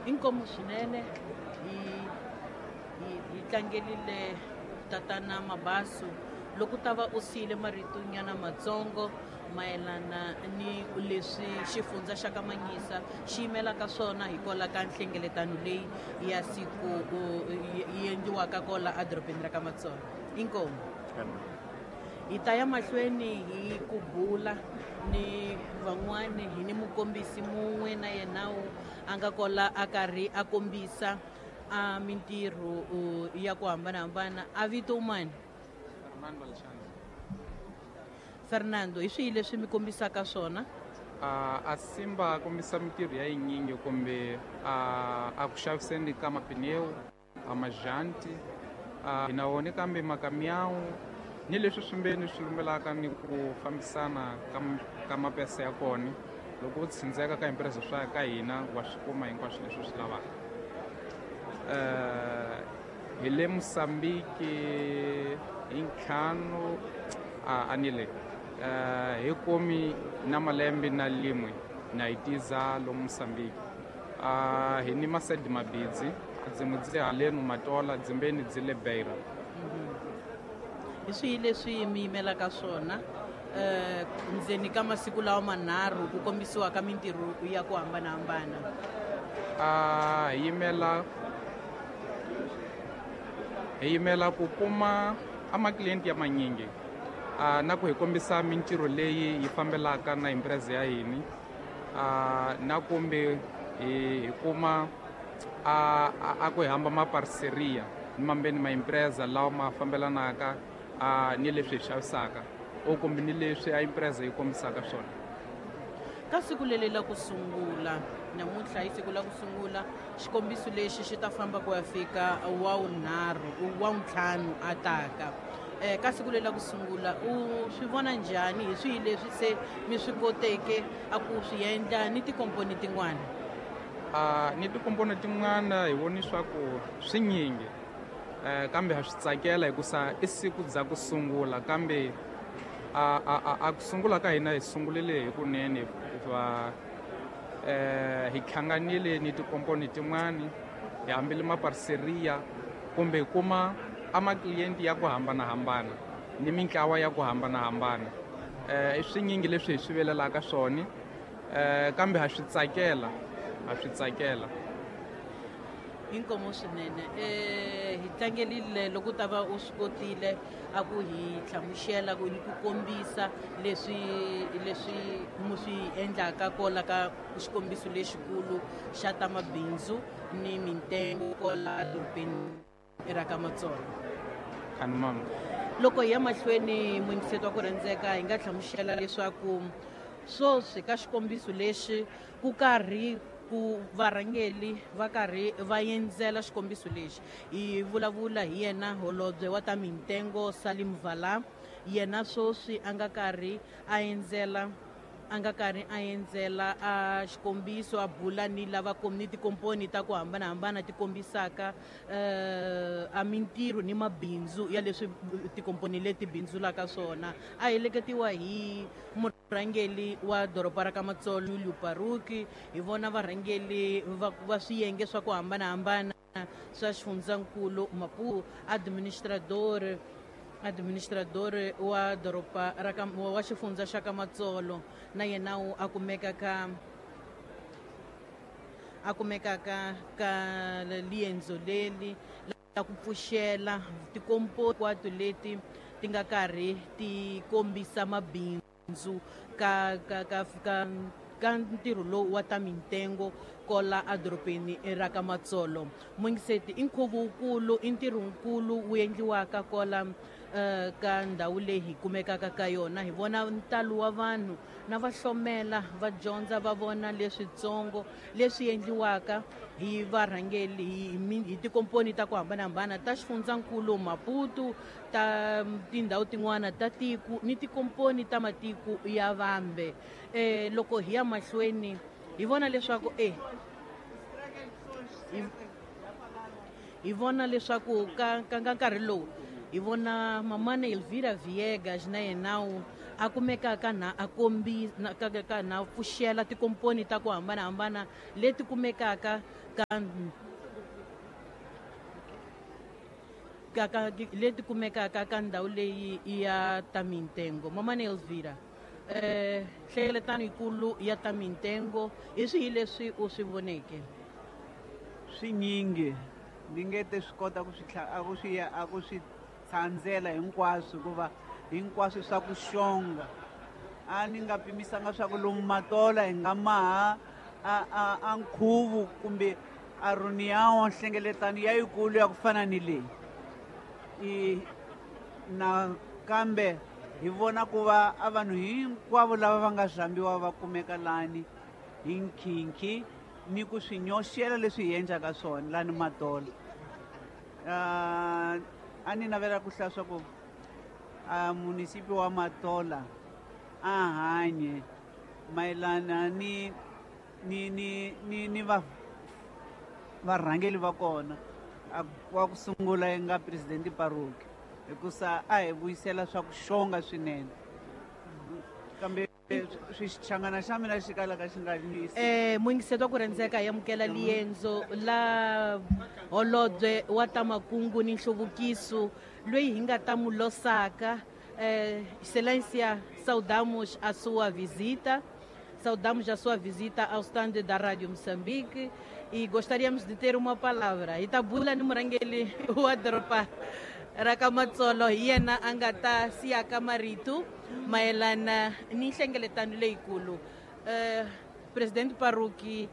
Inkomu swinene hi hi hi tlangerile tatana Mabaso loko ta va u siyile marito nyana matsongo mayelana ni leswi xifundza xa ka Manyisa xi yimelaka swona hikwalaho ka nhlengeletano leyi ya siku yi endliwaka kola edorobeni ra ka Matsolo. Inkomu. Hi ta ya mahlweni hi ku bula ni van'wani hi ni mukombisi mun'we na yena a nga kola a karhi a kombisa a mintirho ya ku hambanahambana. A vito mani? Fernando Alexandre. Fernando, hi swihi leswi mi kombisaka swona? A Simba kombisa mintirho ya yinyingi kumbe a ku xaviseni ka mapineu, a majanti, hi na wona kambe makamiyawu ni leswi swimbeni swi lumbelaka ni ku fambisana ka mapesa ya kona. Loko u tshindzeka ka empresa swa ka hina wa swi kuma hinkwaswo leswi u swi lavaka. Hi le Mozambique hi ntlhanu a ni le hi kumi na malembe na limwe na hi tiza lomu Mozambique. Hi ni masedi mabidzi dzimwe dzi halenu Matola dzimbeni dzi le Beira. Hi swihi leswi mi yimelaka swona ndzeni ka masiku lawa manharhu ku kombisiwa ka mintirho ya ku hambanahambana? Hi yimela ku kuma a maklienti ya manyingi na ku hi kombisa mintirho leyi yi fambelaka na empresa ya hina, na kumbe hi kuma a ku hi hamba maparseria ni mambeni ma empresa lawa ma fambelanaka ni leswi hi xavisaka o kumbe ni leswi a empresa yi kombisaka swona. Ka siku leli la ku sungula namuntlha hi siku la ku sungula xikombiso lexi xi ta famba ku ya fika wa wunharhu wa wuntlhanu a taka. Ka siku leri la ku sungula u swi vona njhani? Hi swihi leswi se mi swi koteke a ku swi endla ni tikomponi tin'wana? Ni tikomponi tin'wana hi voni swa ku swi nyingi, kambe ha swi tsakela hikusa i siku bya ku sungula, kambe a ku sungula ka hina hi sungulile hi kunene hikuva hi hlanganile ni tikomponi tin'wani, hi hambile maparseria kumbe hi kuma a maklienti ya ku hambanahambana ni mintlawa ya ku hambanahambana. I swinyingi leswi hi swi velelaka swona, kambe ha swi tsakela, ha swi tsakela. Inkomo swinene. Hi tlangerile loko u ta va u swi kotile a ku hi hlamusela ku ni ku kombisa leswi mu swi endlaka kola ka xikombiso lexikulu xa ta mabindzu ni mintengo kola edorobeni ra ka Matsolo. Khanumam. Loko hi ya mahlweni muyingiseti wa ku rhandzeka, hi nga hlamusela leswaku sweswi ka xikombiso lexi ku karhi ku varhangeli va karhi va endzela xikombiso lexi. Hi vulavula hi yena holobye wa ta mintengo Salim Vala, yena sweswi a nga karhi a endzela a nga karhi a endzela a xikombiso a bula ni lava ni tikomponi ta ku hambanahambana ti kombisaka a mintirho ni mabindzu ya leswi tikomponi leti bindzulaka swona. A heleketiwa hi murhangeli wa doroba ra ka Matsolo Julio Paruki, hi vona varhangeli va swiyenge swa ku hambanahambana swa xifundzankulu Maputo, administrador wa doroba ra ka, wa xifundza xa ka Matsolo, na yena u a kumeka ka a kumekaka ka liendzo leli la ku pfuxela tikomponi hinkwato leti ti nga karhi ti kombisa mabindzu ka ka ka ka ka ntirho lowu wa ta mintengo kola edorobeni ra ka Matsolo. Mungiseti i nkhuvo wukulu, i ntirho wukulu wu endliwaka kola ka ndhawu leyi hi kumekaka ka yona. Hi vona ntalo wa vanhu na va hlomela va dyondza va vona leswitsongo leswi endliwaka hi varhangeli hi tikomponi ta ku hambanahambana ta xifundzankulu Maputo, ta tindhawu tin'wana ta tiko ni tikomponi ta matiko ya vambe. Loko hi ya mahlweni hi vona leswaku hi vona leswaku ka nkarhi lowu hi vona mamana Elvira Viegas na yena a kumekaka na a kombi ka na pfuxela tikomponi ta ku hambanahambana leti kumekaka ka leti kumekaka ka ndhawu leyi ya ta mintengo. Mamane Elvira, nhlengeletano yikulu ya ta mintengo hi swihi leswi u swi voneke? Swinyingi ni nge te swi kota ku swi a ku swi tsandzela hinkwaswo, hikuva hinkwaswo swa ku xonga. A ni nga pimisanga swa ku lomu Matola hi nga maha a nkhuvo kumbe a reunião nhlengeletano ya yikulu ya ku fana ni leyi. Nakambe hi vona ku va a vanhu hinkwavo lava va nga rhambiwa va kumeka lani hi nkhinkhi ni ku swi nyoxela leswi hi endlaka swona lani Matola. A ni navela ku hlaya swa ku a munisipi wa Matola a hanye mayelana ni ni ni ni ni va varhangeli va kona. Wa ku sungula yi nga president Paruki, hikusa a hi vuyisela swa ku xonga swinene, kambe swichangana xa mina xi kalaka xi nga lwisi. Muyingiseti wa ku rhendzeka hi amukela liendzo la holobye wa ta makungu ni nhluvukiso loyi hi nga ta mu losaka. Excelência, saudamos a sua visita. Saudamos a sua visita ao stand da Rádio Moçambique e gostaríamos de ter uma palavra. Hi ta bula ni murhangeri wa doroba ra ka Matsolo, hi yena a nga ta siyaka marito mayelana ni nhlengeletano leyikulu. President Paruki,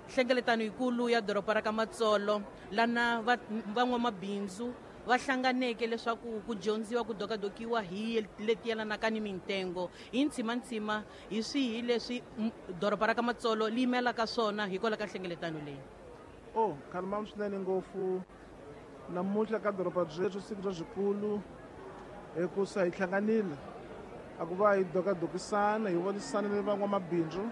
nhlengeletano yikulu ya doroba ra ka Matsolo lana van'wamabindzu va hlanganeke leswaku ku dyondziwa ku dokadokiwa hi leti yelanaka ni mintengo. Hi ntshimantsima hi swihi leswi doroba ra ka Matsolo li yimelaka swona hikwalaho ka nhlengeletano leyi? Oh, khalimam swinene ngopfu namuntlha ka doroba byethu, siku bya byikulu, hikusa hi hlanganile a ku va hi dokadokisana, hi vonisana ni van'wamabindzu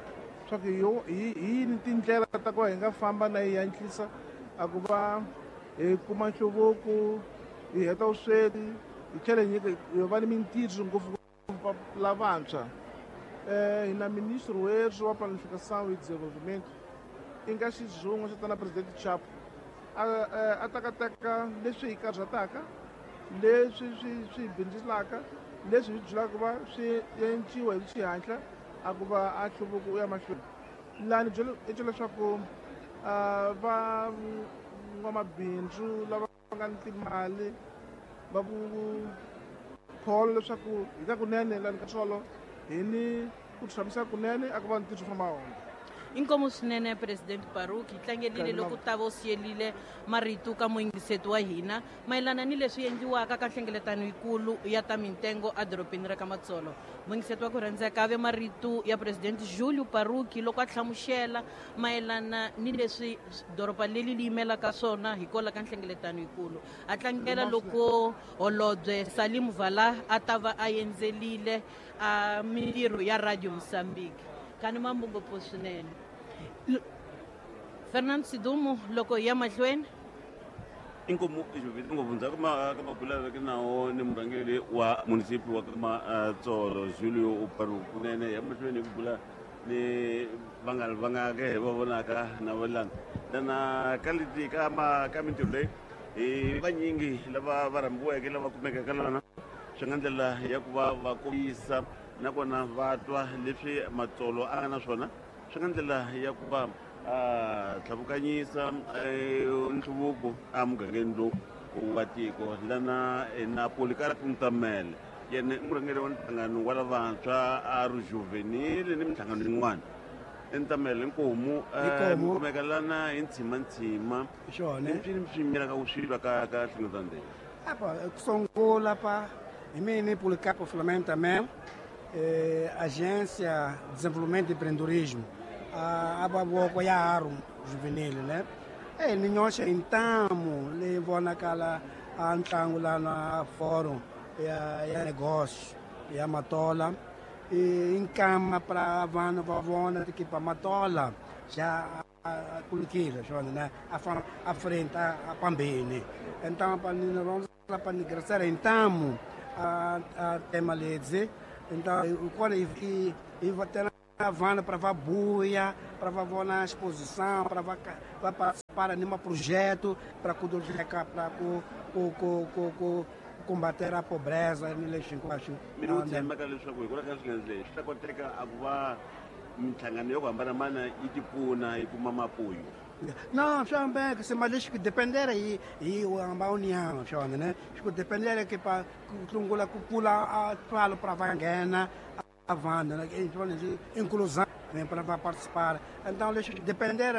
swa ku hi yini tindlela ta ku va hi nga famba na hi hatlisa a ku va hi kuma nhluvuko, hi heta vusweti, hi tlhela hi nyika hi va ni mintirho ngopfu lavantshwa. Hi na ministro wethu wa planificação e desenvolvimento i nga xizungu xo tana President Chapo a tekateka leswi hi karhataka, leswi swi bindzelaka, leswi hi byelaka va swi enciwa hi xihatla a ku va a nhluvuko u ya mahlweni. Lani i byela leswaku va n'wamabindzu lava nga ni timali va ku kholo leswaku hi ka kunene lani ka Tsolo hi ni ku tshamisa kunene a ku va ntirho famba wona. Inkomu swinene President Paruki, hi tlangelile loko ta va u siyelile marito ka muyingiseti wa hina mayelana ni leswi endliwaka ka nhlengeletano yikulu ya ta mintengo edorobeni ra ka Matsolo. Muyingiseti wa ku rhandzeka ve marito ya President Julio Paruki loko a hlamusela mayelana ni leswi doroba leri li yimelaka swona hikwalaho ka nhlengeletano yikulu. A tlangela loko holobye Salim Vala a ta va a endzelile a mintirho ya Radio Mozambique. Kani mambo ngopfu swinene. Fernando Sidumo, loko hi ya mahlweni. Inkomu ngopfu ndzhaku ka mabula veke nawo ni murhangeri wa munisipi wa Matsolo Julio Paruki kunene ya mahlweni ku bula ni vanghana va nga ke va vonaka na valana lana ka leti ka ka mintirho leyi hi vanyingi lava va rhambiweke lava kumekaka lana swi nga ndlela ya ku va va kombisa nakona va twa leswi Matsolo a nga na swona, swi nga ndlela ya ku va a tlhavukanyisa nhluvuko emugangeni lowu wa tiko. Lana na Policarpo Ntamele, yena i murhangeri wa nhlangano wa lavantshwa a ri juvenile ni minhlangano yin'wana. Ntamele nkomu kumeka lana hi ntshimantsima swi swi yimelaka ku swi twa ka ka nhlengeletano leyi. Apa, kusungula pa hi mina Policarpo Flamengo Tamele, Agência de Desenvolvimento e Empreendedorismo, a voko ya aro juvenil, né? Ni nyoxa intamo le vonakala a ntlangu lana fórum ya negócio ya Matola e encama para vanhu va vona tikipa Matola já kulukile swona, né? A frente a pambeni. Então pa ni ronza pa ni graçar intamo a tema ledze Então quando e vou vana para vá buia, para vá vona exposição, para vá participar numa projeto para para ku combater a pobreza ni lexi hinkwaswo. Mina u tshembaka leswaku hikwalaho ka swinghena leswi swi ta koteka a ku va minhlangano yo hambanahambana yi ti pfuna yi kuma mapuyo. Não, só bem que se mas que depender e o amba união, só né? Que depender que para tlungula ku pula a twalo para va nghena a vanda, né? Inclusão vem para participar. Então, deixa depender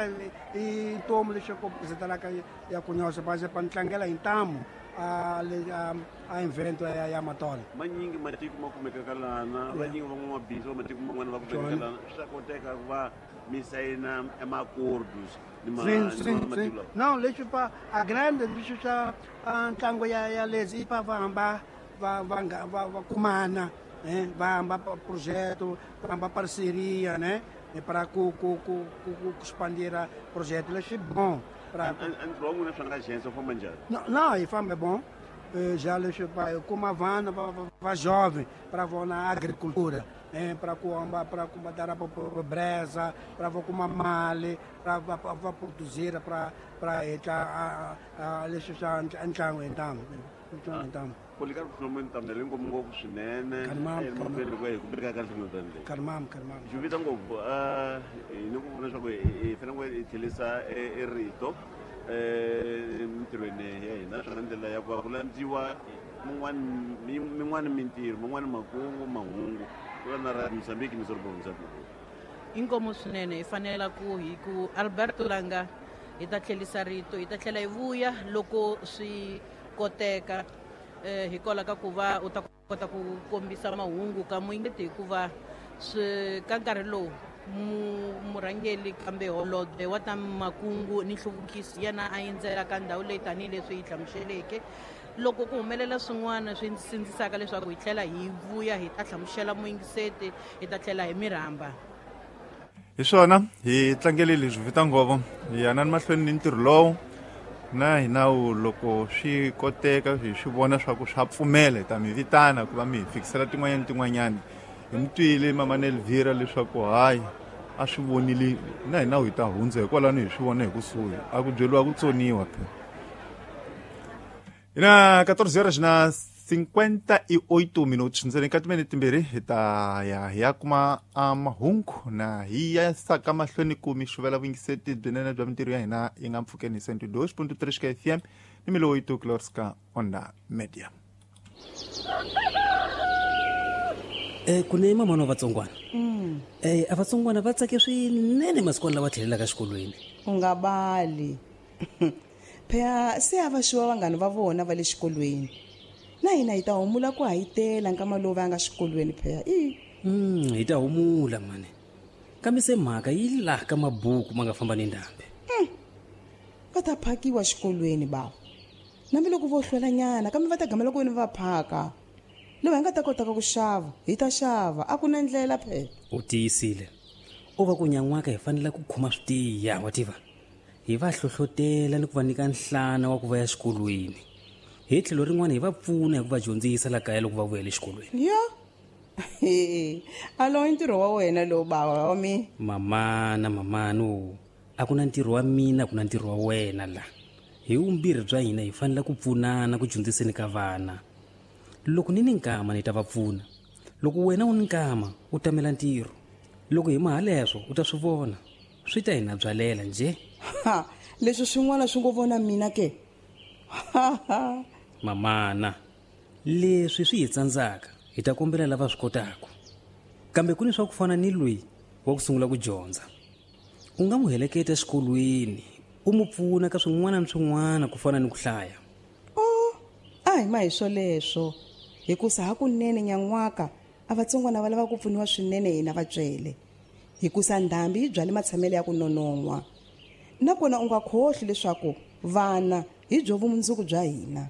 e tomo deixa eu apresentar lá que ya conhece, mas é para ntlangela intamu a invento ya Matola. Manyingi matiko ma kumekaka lana, vanyingi van'wamabindzu va matiko man'wana va kumekaka lana, swi ta koteka ku va mi sayina emacordos ni matiko lawa. Não, deixa pa a grande deixa a ntlango ya lezi pa va hamba va kumana, né? Va hamba projeto, va hamba parceria, né? E para ku expandir projeto, isso é bom. Ntirho wa n'wina swa nga xense u famba njhani? Não, e famba é bom. Já deixa como a vana va jovem para vou na agricultura, né? Para combater a pobreza, para vou com male, para vou produzir para a deixa ntlango então. Policarpo Solomon tamele ngopfu ngopfu swinene emahlweni ku hi ku ka nhlengeletano leyi. Karimam. Juvita ngopfu hi ni ku vona leswaku hi fanele ku hi tlherisa e rito emitirhweni ya hina naswona ndlela ya ku va ku landziwa min'wana mintirho man'wana makungu mahungu ku va na ra Mozambique ni Sorobha Mozambique. Inkomo swinene hi fanela ku hi ku Alberto Langa hi ta tlherisa rito hi ta tlhela hi vuya loko swi koteka hikwalaho ka ku va u ta kota ku kombisa mahungu ka muyingeti hikuva swi ka nkarhi lowu murhangeri kambe holobye wa ta makungu ni nhluvukiso yena a endzela ka ndhawu leyi tanihileswi yi hlamuseleke loko ku humelela swin'wana swi sindzisaka leswaku hi tlhela hi vuya hi ta hlamusela muyingiseti hi ta tlhela hi mirhamba. Hi swona hi tlangele leswi vita ngopfu hi yana mahlweni ni ntirho lowu na hina loko swi koteka hi swi vona swa ku swa pfumela hi ta mi vitana ku va mi hi fikisela tin'wanyana tin'wanyana. Hi mi twile mama Elvira leswaku hayi a swi vonile na hina hi ta hundza hikwalano hi swi vona hi kusuhi a ku byeriwa ku tsoniwa phela. Hi na 14 horas na 58 minutos ndzeni ka timinete timbirhi hi ta ya hi ya kuma mahungu na hi ya saka mahlweni ku mi xuvela vuyingiseti byinene bya mintirho ya hina yi nga mpfhukeni 102.3 ka FM ni milowu yi Klorska Onda Media. Ku ne mama wa vatsongwana a vatsongwana va tsake swinene masikwana lawa tlhelelaka xikolweni. U nga bali phela se a va xiwa vanghana va vona va le xikolweni na hina hi ta humula ku hayitela nkama lowu va nga xikolweni phela i hi ta humula mani kambe se mhaka yi laha ka mabuku ma nga famba ni ndhambi. Va ta phakiwa xikolweni bawo nambi loko vo hlwelanyana kambe va ta gamela ku veni va phaka lowu hi nga ta kotaka ku xava hi ta xava a ku na ndlela phela. U tiyisile u va ku nyan'waka hi fanele ku khoma swi tiya wa tiva hi va hlohlotela ni ku va nyika nhlana wa ku va ya xikolweni hi tlhelo rin'wana hi va pfuna hi ku va dyondzisa la kaya loko va vuyela exikolweni. Yo alo i ntirho wa wena lowu bawa wa mi mamana mamano a ku na ntirho wa mina a ku na ntirho wa wena la hi vumbirhi bya hina hi fanele ku pfunana ku dyondziseni ka vana. Loko ni ni nkama ni ta va pfuna loko wena u ni nkama u tamela ntirho loko hi mahaleswo u ta swi vona swi ta hina byalela nje. Ha leswi swin'wana swi ngo vona mina ke mamana leswi swi hi tsandzaka hi ta kombela lava swi kotaka kambe ku ni swa ku fana ni loyi wa ku sungula ku dyondza u nga n'wi heleketa exikolweni u mu pfuna ka swin'wana ni swin'wana ku fana ni ku hlaya. A hi ma hi swoleswo hikusa hakunene nyan'waka a vatsongwana va lava ku pfuniwa swinene hina vatswele hikusa ndhambi yi byale matshamelo ya ku nonon'hwa nakona u nga khohli leswaku vana hi byo vumundzuku bya hina.